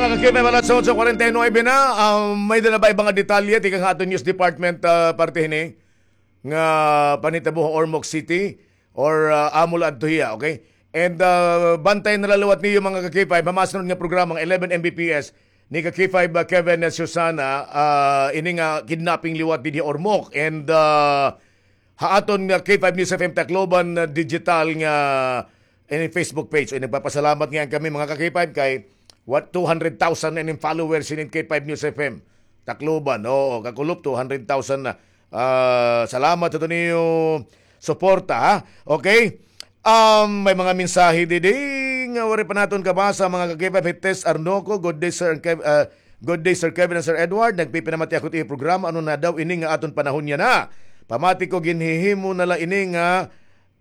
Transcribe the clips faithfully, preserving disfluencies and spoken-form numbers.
Mga ka-K five, alas otso kwarenta y nuebe na. Ah, may-ada na ba iba nga detalye tikang ha aton news department, ah, parte hini nga panhitabo ha Ormoc City or, ah, amo la adto hiya, okay? And, ah, bantayan na la liwat niyo, mga ka-K five, ha masunod nga programa nga eleven M B P S ni ka-K five, ah, Kevin, ah, Susana, ah, ini nga kidnapping liwat dinhi ha Ormoc. And, ah, ha aton nga K five News F M Tacloban, ah, digital nga, eh, Facebook page. Ay, nagpapasalamat nga kami, mga ka-K five, kay what, two hundred thousand na ining followers hinin K five News F M Tacloban. Oo, kakulop, two hundred thousand na. Ah, salamat sa niyo suporta, ha? Okay? Um, may mga mensahe didi nga waray pa naton kabasa, mga ka-K five. Hi Tess Arnoco, good day, Sir Kev-, ah, good day, Sir Kevin and Sir Edward. Nagpipinamati ako it programa. Ano na daw ini nga aton panahon yana? Pamati ko, ginhihimo na la ini nga,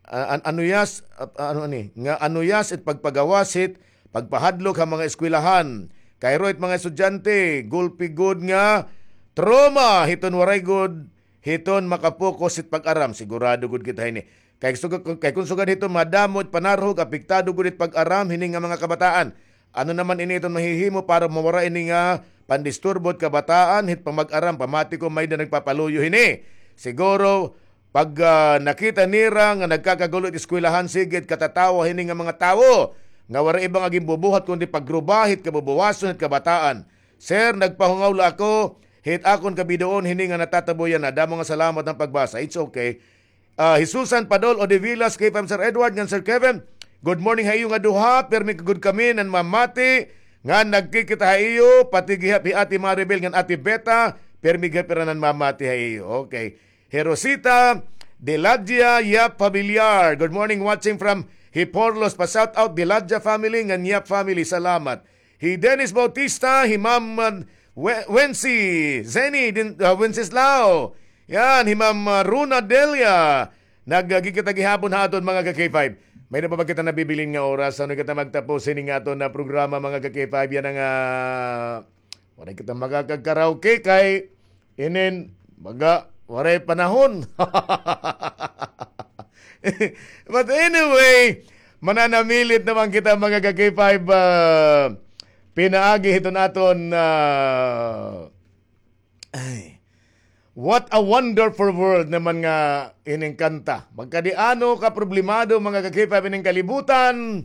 ah, an-, anuyas, ah, ano ani? Nga anuyas it pagpagawas hit pagpahadlok ha mga eskwelahan. Kay ro it mga estudyante, gulpi gud nga trauma hiton waray gud hiton makapokus hit pag-aram. Sigurado gud kita hini. Kay sugad, kay kun sugad hiton madamo it panarhog, apektado gud it pag-aram hini nga mga kabataan. Ano naman ini iton mahihimo para mawara ini nga pandisturbo hit kabataan hit pamag-aram? Pamati ko may-ada nagpapaluyo hini. Siguro pag, ah, nakita nira nga nagkakagulo it eskwelahan, sige it katatawa hini nga mga tawo nga waray iba nga ginbubuhat kundi pagruba hit kabubuwason hit kabataan. Sir, nagpahungaw la ako hit akon kabidoon hini nga natatabo yana. Damo nga salamat han pagbasa. It's okay. Ah, hi Susan Padol Odivilas, K five Sir Edward ngan Sir Kevin. Good morning ha iyo nga duha. Pirmi gud kami nanmamati nga nagkikita ha iyo, pati gihap hi Ate Maribel ngan Ate Beta, pirmi gihap hira nanmamati ha iyo. Okay. Hi Rosita Deladia Yap Familiar. Good morning, watching from Hiporlos. Pa-shout out Deladia family ngan Yap family. Salamat. Hi Dennis Bautista, hi Ma'am, uh, We-, Wency, Zenny, din, uh, Wenceslao. Yan, hi Ma'am, uh, Runa Delia. Nagkikita gihapon ha aton, mga ka-K five. May-ada pa ba kita nabibilin nga oras? Ano kita magtapos hini nga aton nga programa, mga ka-K five? Yana nga, ah, waray kita makakag-karaoke kay inin baga waray panahon. But anyway, mananamilit naman kita, mga ka-K five, ah, pinaagi hiton aton, ah, ay, what a wonderful world naman nga ining kanta. Magkadi-ano ka problemado, mga ka-K five, ining kalibutan.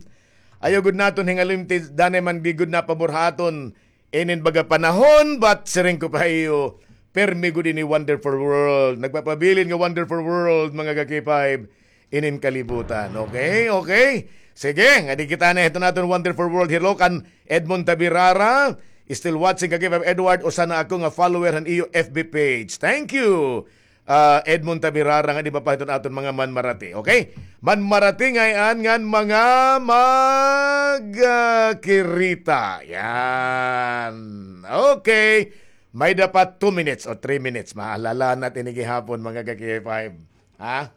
Ayaw gud naton hingalimti, danay man di gud napabor ha aton inin baga panahon, but siring ko pa iyo, permi gud ini wonderful world. Nagpapabilin nga wonderful world, mga ka-K five, inin kalibutan. Okay, okay. Sige, ngadi kita na hiton aton wonderful world. Hello kan Edmond Tabirara. Still watching, ka-K five Edward, usa na ako nga follower han iyo F B page. Thank you. Ah, Edmond Tabirara, ngadi pa hiton aton mga manmarati. Okay? Manmarati ngay-an ngan mga magkirita. Yan. Okay. May-ada pa two minutes o three minutes. Mahalala na ini gihapon, mga ka-K five. Ha?